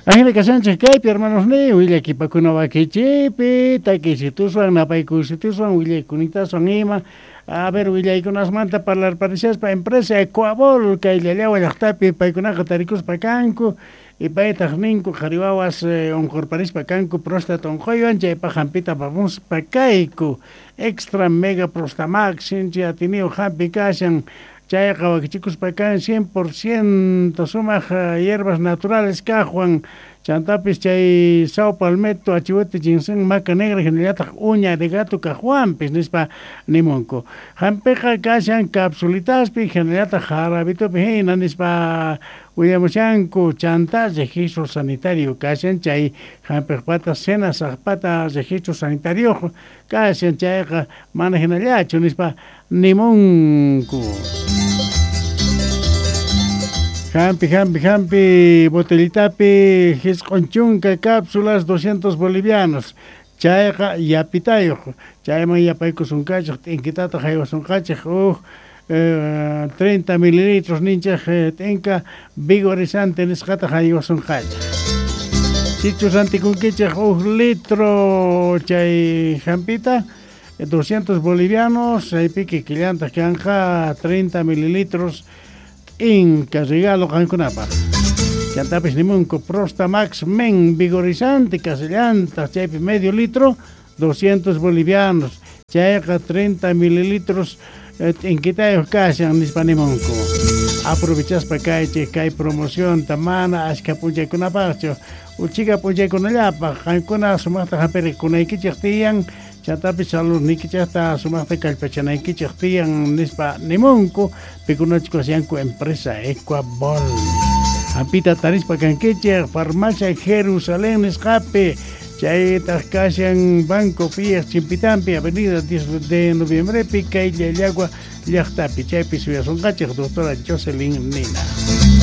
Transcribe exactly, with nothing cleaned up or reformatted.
Ajina kashanchej kaypi hermanos ni willakipakuna wakichipi takisituswan napaykusituswan willaykunitasun ima. A ver, willaykunasmanta parlarparishaspa empresa Ecuabol kay Llallawa llaqtapi paykunaqa tarikuspa kanku y paytaq ninku qhari wawas unqurparispa kanku próstata unquywan chaypaq hampita apamuspa kayku extra mega prostamax sinchi atiniyuq hampi kashan chayqa wakichikuspa kan cien por ciento sumaq hierbas naturales kaqwan chantapis chay sao palmetto achihuete ginseng maca negra hinallataq uña de gato kaqwanpis nispa nimunku hampiqa kashan capsulitaspi hinallataq jarabitupi hina nispa willamushanku chanta registro sanitario kashan chay hampiqpata senasaqpata registro sanitario kashan chayqa mana hinallachu nispa nimunku. Hampi, hampi, hampi, botellitapi, jisq'un chunka cápsulas, doscientos bolivianos. Chayqa yapitayuq, chayman yapaykusunqachej, t'inkitata haywasunqachej, uj eh, treinta mililitros ninchej t'inka vigorizante nisqata haywasunqachej. Sichus rantikunkichej uj litro chay hampita, doscientos bolivianos, chaypi kikillantaq kanqa treinta mililitros inca regalo qankunapaq. Chantapis nimunku Prostamax Men vigorizante casillanta chaypi medio litro doscientos bolivianos chayqa treinta mililitros t'inkitayuq kashan nispa nimunku. Aprovechaspa kaychej kay promocionta mana ashka p'unchaykunapaqchu uchika p'unchaykunallapaq qankuna sumaqta hampirikunaykichej tiyan chantapis saludniykichejta sumaqta kallpachanaykichej tiyan nispa nimunku pikunachus kashanku empresa Ecuabol. Hampita tarispa kankichej farmacia Jerusalén nisqapi chaytaq kashan Banco Fias Chimpitampi avenida diez de noviembrepi kay Llallagua llaqtapi chaypi suyasunqachej doctora Jocelyn Nina.